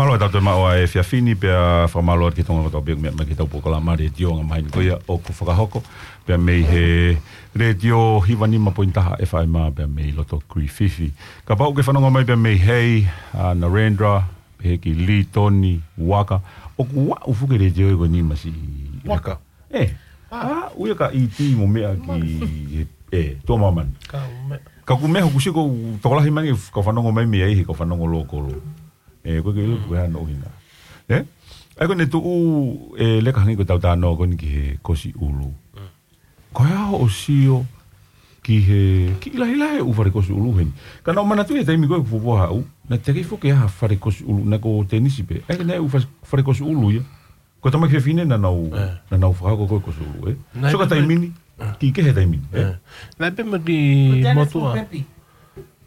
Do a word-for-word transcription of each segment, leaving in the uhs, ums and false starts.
Mālō atu e maʻu ʻa e efiafi ni pea fakamālō atu ki he Tonga kotoa pē ʻoku meʻa mai ki heʻetau polokalama letiō Ngaahi Mahinekoia ʻoku fakahoko pea mei he letiō hiva nima poini taha FM pea mei loto Kirififi. Kapau ʻoku ke fanongo mai pea mei hei, ʻa Narendra, pehē ki Litoni, Waka, ʻoku aʻu fuke letiō ʻe ko e nima si Waka. ʻE, ʻa, ui ka iti mo meʻa ki, ʻe, tuʻa māmani. Ka meʻa. Ka ʻoku meʻa hoku siko, tokolahi mai, ka fanongo mai mei ai, he ka fanongo lōkolo. ʻE, ko e ke ilu, ko e hano ʻuhinga. ʻE? ʻAi ko ne tuʻu, ʻe, leka hangi ko tau tāno ko ni ki he kosi ʻulu. Ko e hā hoʻo sio ki he, ki lahi lahi ʻū fale kosi ʻulu heni. Ka naʻu manatu he taimi ko e fuofua haʻu, naʻe teʻeki foki ha fale kosi ʻulu, naʻe ko tenisi pē. ʻAi ka naʻe ʻū fa-, fale kosi ʻulu ia. Ko e tamai fefine naʻa nau, naʻa nau fakahoko ko e kosi ʻulu, ʻe? Naʻe so ka pē taimi ni, ki ke he taimi ni, ʻe? Naʻe pē mo ki motuʻa.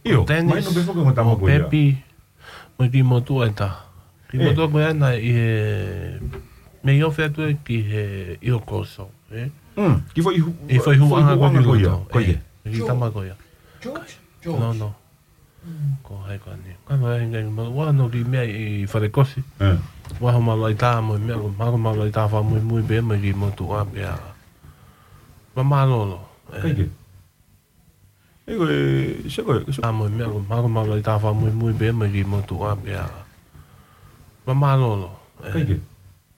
ʻIo, tenisi, mahino pē foki mo tama ko ia. Pepi, mo ki motuʻa ʻe taha. Ki motuʻa ko ia naʻe ʻi he, mei ofi atu ʻe ki he ʻi ho koso, ʻe? Mm, ki foʻi hu-, ʻi foʻi huʻanga ko ia. Ko ia. Ki tama ko ia. George? George. No, no. Ko hai ko ani. Ka no e ngai mo wa no ki meʻa ʻi fale kosi. Wa ho malaʻitā mo e meʻa ko, ma ko malaʻitā fakamuimui pē mo ki motuʻa pea. Ma mālōlō. Kai ke. ʻE ko e, se ko e, se ko e. Mo e meʻa ko, ma ko malaʻitā fakamuimui pē mo ki motuʻa pea. Ma mālōlō. Kai ke.